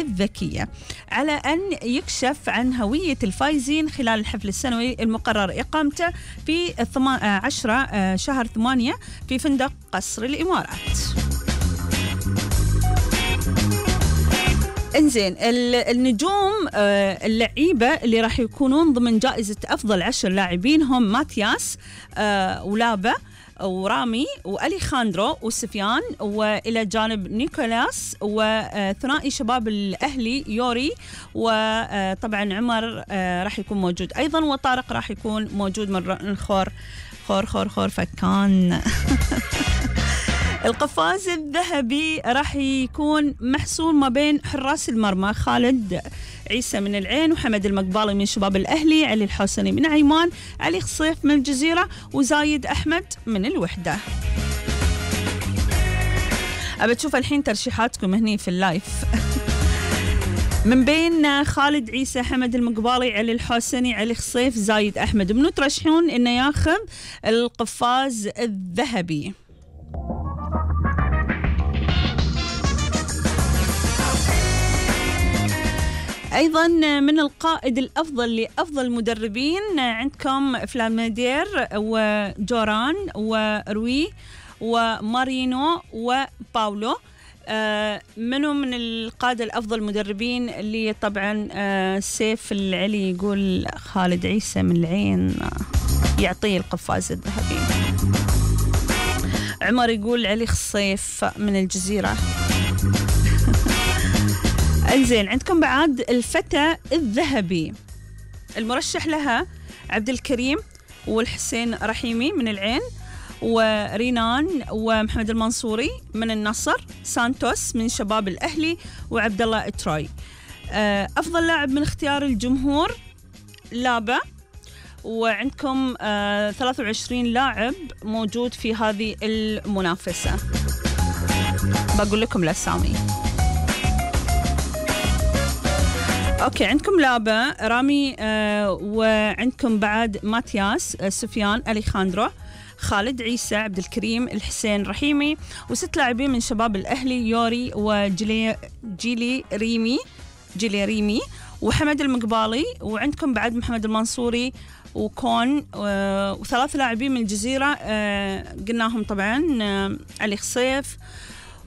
الذكية، على أن يكشف عن هوية الفائزين خلال الحفل السنوي المقرر إقامته في 10 شهر 8 في فندق قصر الإمارات. انزين، النجوم اللعيبة اللي راح يكونون ضمن جائزة أفضل 10 لاعبين هم ماتياس ولابا ورامي وأليخاندرو وسفيان، وإلى جانب نيكولاس وثنائي شباب الأهلي يوري، وطبعا عمر راح يكون موجود أيضا، وطارق راح يكون موجود من خور فكان. القفاز الذهبي راح يكون محصول ما بين حراس المرمى خالد عيسى من العين وحمد المقبالي من شباب الأهلي، علي الحسني من عمان، علي خصيف من الجزيرة، وزايد أحمد من الوحدة. أبى تشوف الحين ترشيحاتكم هني في اللايف. من بين خالد عيسى، حمد المقبالي، علي الحسني، علي خصيف، زايد أحمد، منو ترشحون إنه ياخذ القفاز الذهبي؟ أيضا من القائد الأفضل لأفضل مدربين عندكم فلاميدير وجوران وروي ومارينو وباولو. منو من القادة الأفضل مدربين اللي طبعا سيف العلي يقول خالد عيسى من العين يعطيه القفاز الذهبي. عمر يقول علي خصيف من الجزيرة. انزين، عندكم بعد الفتى الذهبي، المرشح لها عبد الكريم والحسين رحيمي من العين، ورينان ومحمد المنصوري من النصر، سانتوس من شباب الأهلي، وعبد الله تروي. أفضل لاعب من اختيار الجمهور لابا، وعندكم 23 لاعب موجود في هذه المنافسة. بقول لكم الأسامي. أوكي، عندكم لابا، رامي، وعندكم بعد ماتياس، سفيان، أليخاندرو، خالد عيسى، عبد الكريم، الحسين رحيمي، و6 لاعبين من شباب الأهلي، يوري وجيلي ريمي وحمد المقبالي، وعندكم بعد محمد المنصوري وكون، و3 لاعبين من الجزيرة قلناهم طبعا، علي خصيف،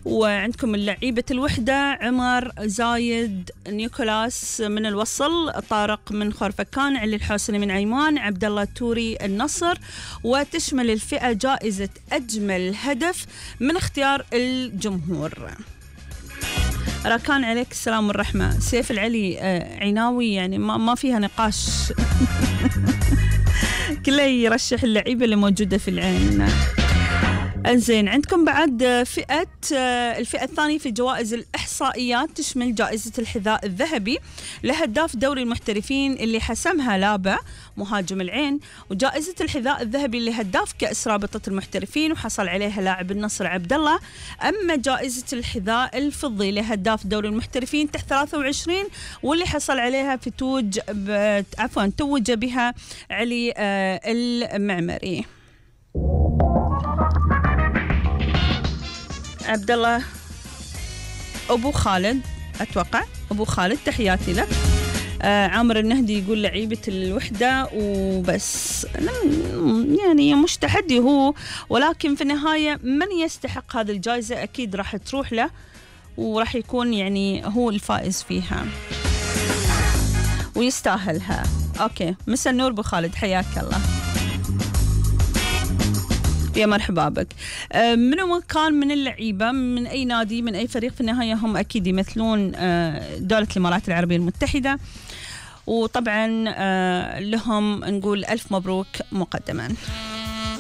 وعندكم اللعيبة الوحدة عمر، زايد، نيكولاس من الوصل، طارق من خورفكان، علي الحسني من عمان، عبد الله توري النصر. وتشمل الفئة جائزة أجمل هدف من اختيار الجمهور. راكان عليك السلام والرحمة. سيف العلي عيناوي، يعني ما فيها نقاش. كله يرشح اللعيبة اللي موجودة في العين. انزين، عندكم بعد الفئة الثانية في جوائز الإحصائيات، تشمل جائزة الحذاء الذهبي لهداف دوري المحترفين اللي حسمها لابا مهاجم العين، وجائزة الحذاء الذهبي لهداف كأس رابطة المحترفين وحصل عليها لاعب النصر عبد الله. أما جائزة الحذاء الفضي لهداف دوري المحترفين تحت 23 واللي حصل عليها توج بها علي المعمري. عبد الله أبو خالد، أتوقع أبو خالد، تحياتي لك. عامر النهدي يقول لعيبة الوحدة وبس، يعني مش تحدي هو، ولكن في النهاية من يستحق هذه الجائزة أكيد راح تروح له، وراح يكون يعني هو الفائز فيها ويستاهلها. أوكي، مساء النور أبو خالد، حياك الله، يا مرحبا بك. منو كان من اللعيبة من أي نادي من أي فريق، في النهاية هم أكيد يمثلون دولة الإمارات العربية المتحدة، وطبعا لهم نقول ألف مبروك مقدما.